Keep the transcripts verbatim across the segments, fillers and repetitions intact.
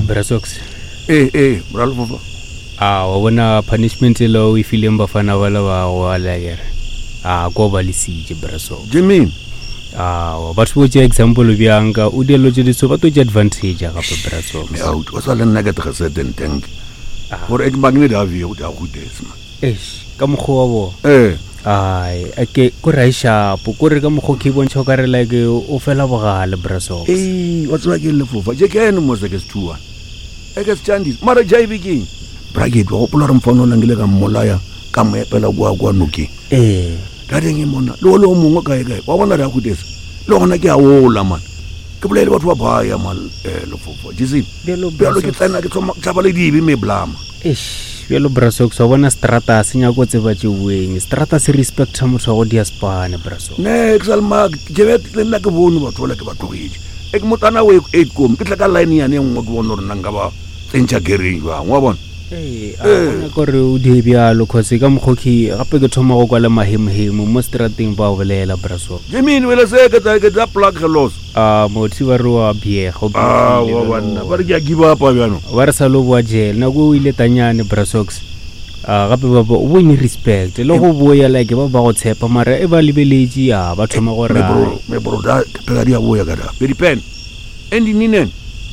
Brasox. Ee ee bra Lefofa. A wa bona punishment e o e fileng bafana ba le ba go alakere. A ko ba lesitše Brasox. Jimmy. A wa batho bo tšea example bjang ka o dielo tše diso ba to tšea advantage gape Brasox. Me out o sa le nna ke tgeseten tank. Gore e ke magne da vi go da go des man. Eish, ka mokgwa wa bo. Eh. Ai, ake ko ra shapo, ko re ka mokgwa ke bontšha ka re like o fela bogale Brasox. Eh, wa tseba ke Lefofa. Je ke ene mo se ke se two one. E ke se chandis. Mara J B ke. Bra ke tlo gopola re mfano la ngile ka mmolaya ka mo epela kwa kwa nokeng. Eh. Ka reng e mona le o le o mongwe kae kae wa bona re a gudesa le gona ke a ola man ke bolaele batho ba baya man eh, Lefofa jese Bjalo bjalo ke Brasox. tsena ke thoma tšhaba le dibe me blama. Eish, bjalo Brasox wa bona strata se nyako tseba tše boeng. Strata se respecta motho wa go dia spane Brasox. Ne ke sa le mak ke be le nna ke bone batho bala ke ba tlogetše e ke motsana o eight kom ke tla ka line yane e nngwe ke bone gore nna nka ba tsentšha gereng jwang wa bona. Ee, a bona kore o die bjalo cause ka mokgwa ke gape ke thoma go kwa le mahemohemo mo strateng ba bolela Brasox. Jemine wele se ke tsa ke tsa plug gelos. A motho ba re wa biega o Ah biegile wa bjalo. banna ba re ke a give up bjano. Ba re sa lo boa jail nako o ile tanyane Brasox. A gape ba ba o bone respect le go boya like ba ba go tshepa mara e ba lebeletše a ba thoma gore Me bro me bro da ke phela di a boya ka da pedi pen and ninen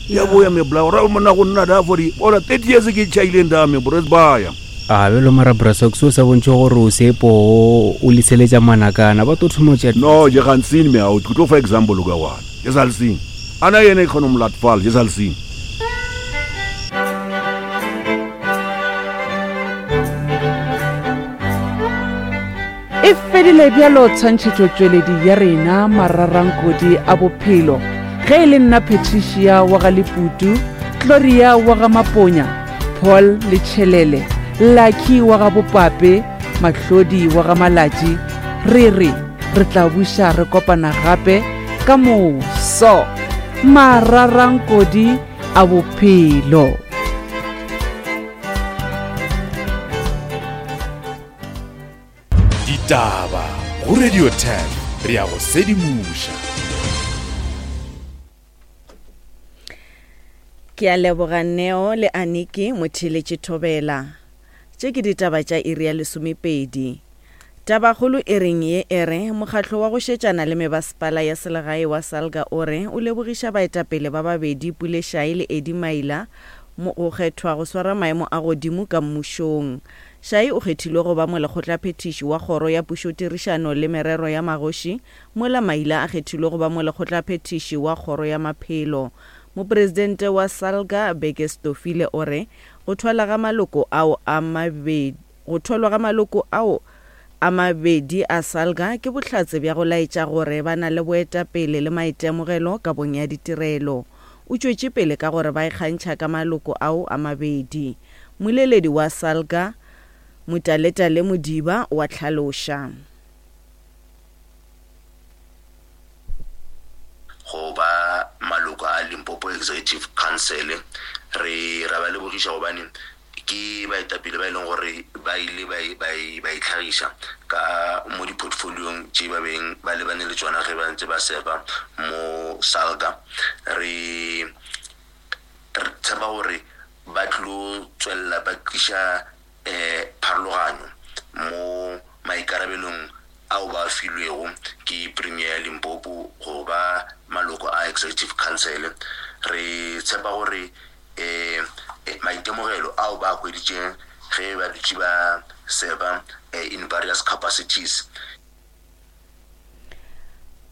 ya boya me bla ora mona go nna da for ora thirty years ke chaileng da me bro baya. A bjalo mara Brasox o sa bontšhe gore o sepo o liseletša manakana ba to thoma o tšea. No je gaan sien me out ke tlo fa example ka one je sal sien ana yene e kgona mo latfal je sal sien. E fedile bjalo tshwantšhetšotšweledi ya rena mararankodi a bophelo. Ge e le nna Patricia wa ga Leputu, Gloria wa ga Maponya, Paul Letšhelele, Lucky wa ga Bopape, Mahlodi wa ga Malatši, re re re tla buša re kopana gape ka moso. Mararankodi a bophelo. Ditaba go Radio ten re ya go sedimoša. Ke a leboga Neo le Aniki motheeletši Thobela. Tše ke ditaba tša iri ya lesomepedi. Tabakgolo e reng ye e re mokgatlo wa go šetšana le mebasepala ya selegae wa Salga o re o lebogiša baetapele ba babedi Pule Shai le Eddie Maila mo go kgethwa go swara maemo a godimo ka mmušong. Shai o kgethilwe go ba molekgotlaphethiši wa kgoro ya pušotirišano le merero ya magoši, mola Maila a kgethilwe go ba molekgotlaphethiši wa kgoro ya maphelo. Mopresidente wa Salga Beke Stofile o re go thwala ga maloko ao a mabedi go thwalwa ga maloko ao a mabedi a Salga ke bohlatse bja go laetša gore ba na le boetapele le maitemogelo kabong ya ditirelo. O tšwetše pele ka gore ba ikgantšha ka maloko ao a mabedi. Mmoleledi wa Salga Motaletale Modiba wa hlaloša. Go ba maloko a Limpopo Executive Council re ra ba lebogiša gobane ke baetapele ba e leng gore ba ile ba ba ba itlhagiša ka mo di-portfoliong tše ba beng ba lebane le tšona ge ba ntse ba serva mo Salga. Re re tshepa gore ba tlo tswelela ba tliša um pharologanyo mo maikarabelong ao ba filwego ke Premier ya Limpopo go ba maloko a Executive Council. Re tshepa gore eh maitemogelo ao ba hweditšeng ge ba dutše ba serva in various capacities.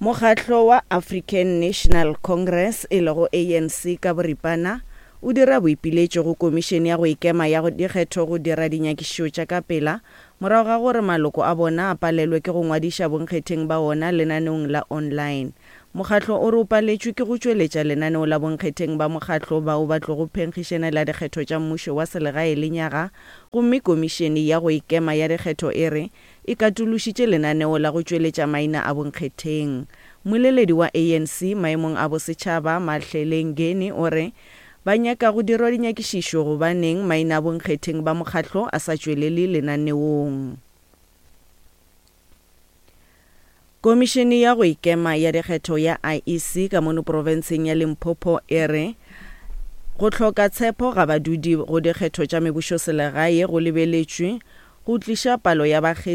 Mokgatlo wa African National Congress e lego A N C ka boripana o dira boipiletšo go komišene ya go ikema ya dikgetho go dira dinyakišišo tša ka pela morago ga gore maloko a bona a palelwe ke go ngwadiša bonkgetheng ba ona lenaneong la online. Mokgatlo o re o paletšwe ke go tšweletša lenaneo la bonkgetheng ba mokgatlo bao ba tlogo phenkgišanela dikgetho tša mmušo wa selegae lenyaga, gomme komišene ya go ikema ya dikgetho e re e katološitše lenaneo la go tšweletša maina a bonkgetheng. Mmoleledi wa A N C maemong a bosetšhaba Mahlele Ngeni o re ba nyaka go dirwa dinyakišišo gobaneng maina a bonkgetheng ba mokgatlo a sa tšwelele lenaneong. Komišene ya go ikema ya dikgetho ya I E C ka mono profenseng ya Limpopo e re Go hloka tshepo ga badudi go dikgetho tša mebušoselegae go lebeletšwe go tliša palo ya bakgethi